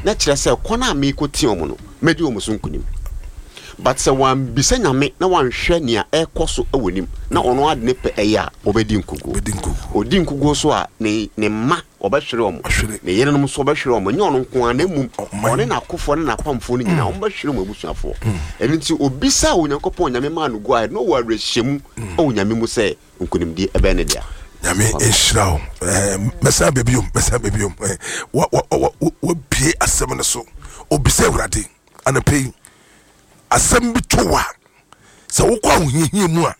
na kyerɛ sɛ kwan a merekɔtia wɔn no, mɛdi wɔn so nkonim. But sɛ wambisa Nyame na wanhwɛ nea ɛrekɔ so wɔ nim na ɔno ara de ne pɛ ɛyɛ a, ɔbɛdi nkoguo. Ɔdi nkoguo nso a, ne ne mma ɔbɛhwere wɔn, ne yerenom nso ɔbɛhwere wɔn, ɛnyɛ ɔno nko ara na mmom ɔne n'akofoɔ ne n'apamfoɔ no nyinaa wɔbɛhwere wɔn abusuafoɔ. Ɛno nti ɔbisaa Onyankopɔn, Nyame maa no go ahead na ɔwɔ awerɛhyɛmu wɔ Nyame mu sɛ nkonimdie ɛbɛyɛ ne dea. Nyame nhyira wo. Mɛsan aba biom, mɛsan aba biom. Wabie asɛm no so. Obisa Awurade anɔpa yi, asɛm bi to wa sɛ wokɔ ahohiahia mu a,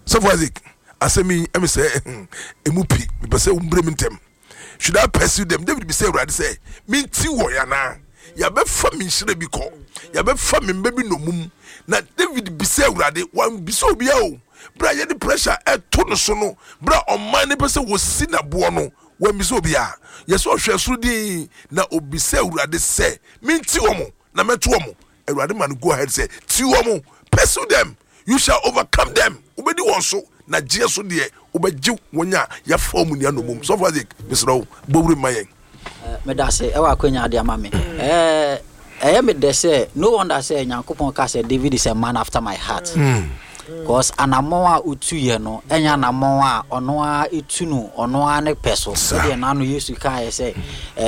Sɔfo Isaac, asɛm yi ɛmi sɛ emu pi, mepɛ sɛ wombrɛ mu ntɛm. Should I pursue them? David bisa Awurade sɛ, menti wɔn anaa? Yɛabɛfa me nhyira bi kɔ, yɛabɛfa me mma bi nnommum. Na David bisa Awurade, wambisa obiara o. Berɛ a yɛde pressure ɛto no so no, berɛ a ɔman no pɛ sɛ wɔsi n'aboɔ no, wambisa obiara. Yɛsɛ ɔhwɛ soro dinn na obisa Awurade sɛ, menti wɔn na mɛto wɔn? Awurade ma no go ahead sɛ, ti wɔn, pursue them, you shall overcome them. Wobɛdi wɔn so, na gyeɛ so deɛ wobɛgye wɔn a yɛafa wɔn nua nnommum. Sɔfo Isaac, mesrɛ wo, bɔ wuram ma yɛn. Meda ase ɛwɔ akwanya ade ama me. Ɛyɛ me dɛ sɛ no wonder sɛ Nyankopɔn ka sɛ David is a man after my heart. Because anammɔn a otu yɛ no ɛnyɛ anammɔn a ɔno ara etu no ɔno ara ne pɛ so. Sɛdeɛ n'ano Yesu kaeɛ sɛ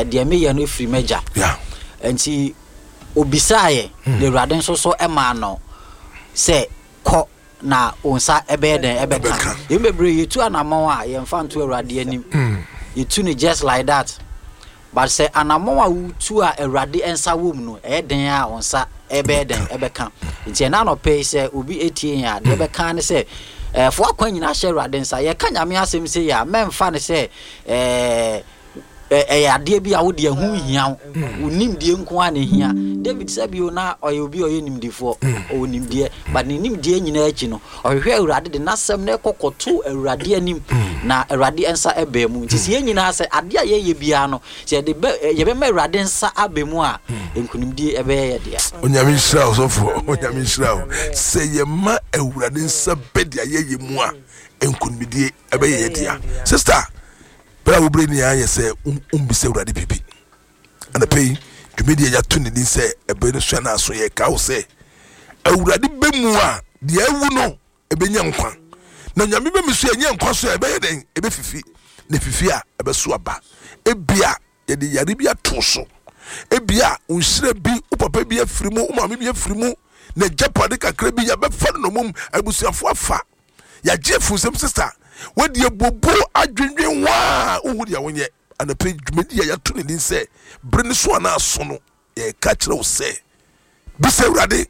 deɛ meyɛ no efiri m'agya. Nti obisaeɛ na Awurade nso so maa no sɛ kɔ na wo nsa ɛbɛyɛ dɛn ɛbɛka. Yɛn bebree yɛtu anammɔn a yɛmfa nto Awurade anim. Yɛtu no just like that. But sɛ anammɔn a wotu a Awurade nsa wɔ mu no, ɛyɛ den a wo nsa ɛbɛyɛ dɛn ɛbɛka. Nti ɛna anɔpɛ yi sɛ obi etie yɛn a, deɛ ɛbɛka ne sɛ ɛɛ fo akwan nyinaa hyɛ Awurade nsa. Yɛka Nyame asɛm sei a, mɛmfa no sɛ ɛɛ ɛyɛ adeɛ bi a wo deɛ ho nhia wo, wo nimdeɛ nko ara na ɛhia. David sɛ bio na ɔyɛ obi a ɔyɛ nimdefoɔ, ɔwɔ nimdeɛ, but ne nimdeɛ nyinaa akyi no, ɔhwehwɛ Awurade de n'asɛm no kɔ kɔto Awurade anim, na Awurade nsa baa mu. Nti sɛ yɛn nyinaa sɛ adeɛ a yɛyɛ biara no, sɛ yɛde bɛ, yɛbɛma Awurade nsa aba mu a, nkunimdie ɛbɛyɛ yɛ dea. Onyame nhyira wo sɔfoɔ, Onyame nhyira wo. Sɛ yɛma Awurade nsa bɛ deɛ yɛyɛ mu a, nkunimdie ɛbɛyɛ yɛ dea. Sister, Berɛ a wobrɛ ni ara yɛ sɛ wombisa Awurade biribi. Anɔpa yi, dwumadie a yɛato ne din sɛ Ɛberɛ no So Anaa So yɛreka wo sɛ Awurade bɛ mu a deɛ awu no ɛbɛnya nkwa. Na Nyame bɛ mu so ɛnyɛ nkwa so a ɛbɛyɛ dɛn? Ɛbɛfifi. Na ɛfifi a ɛbɛso aba. Ebia yɛde yare bi ato so. Ebia wo nhyira bi, wo papa bi afiri mu, wo maame bi afiri mu, na agyapade kakra bi yɛabɛfa no nnommum, abusuafoɔ afa. Yɛagye afi wo nsam sista. Wadi abuobuo adwendwen ho a wonhu deɛ wonyɛ. Anɔpa yi dwumadi a yɛato ne din sɛ Bere no So Anaa So no, yɛreka kyerɛ wo sɛ bisa Awurade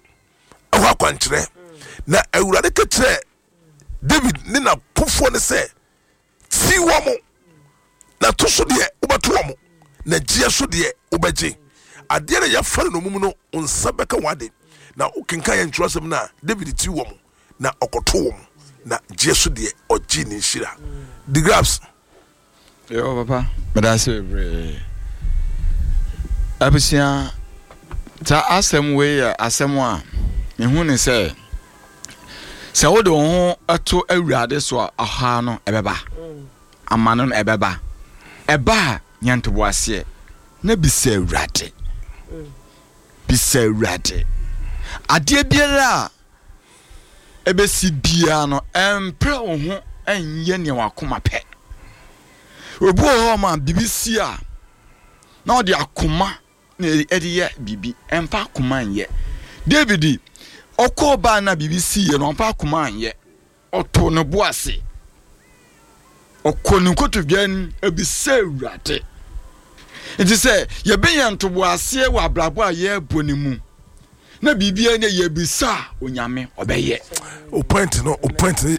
ɛhɔ akwankyerɛ. Na Awurade ka kyerɛɛ David ne n'akofoɔ no sɛ, Ti wɔn, na to so deɛ wobɛto wɔn, na gyeɛ so deɛ wobɛgye. Adeɛ na yɛafa no nnommum no, wo nsa bɛka wɔn ade. Na wokenkan yɛn twerɛsɛm no a, David ti wɔn, na ɔkɔto wɔn, na gyeɛ so deɛ ɔgyee ne nhyira. The Grabs. Yo papa, meda ase bebree. Abusua, saa asɛm wei yɛ asɛm a mehu ne sɛ sɛ wode wo ho to Awurade so a, ɔhaw no ɛbɛba, amane no ɛbɛba. Ɛba a, nya ntoboaseɛ na bisa Awurade. Bisa Awurade. Adeɛ biara a ɛbɛsi biara no, ɛmpere wo ho nyɛ nea w'akoma pɛ. Obi wɔ hɔ ma biribi si a, na ɔde akoma na ɛde yɛ biribi, ɛmfa akoma nyɛ. David, ɔkɔɔ baa na biribi siiɛ no, ɔmfa akoma anyɛ. Ɔtoo ne bo ase. Ɔkɔ ne nkotodwe anim ebisa Awurade. Nti sɛ yɛbɛnya ntoboaseɛ wɔ abrabɔ a yɛrebɔ no mu na biribiara ne yɛbisa a, Onyame ɔbɛyɛ. O point no, o point no.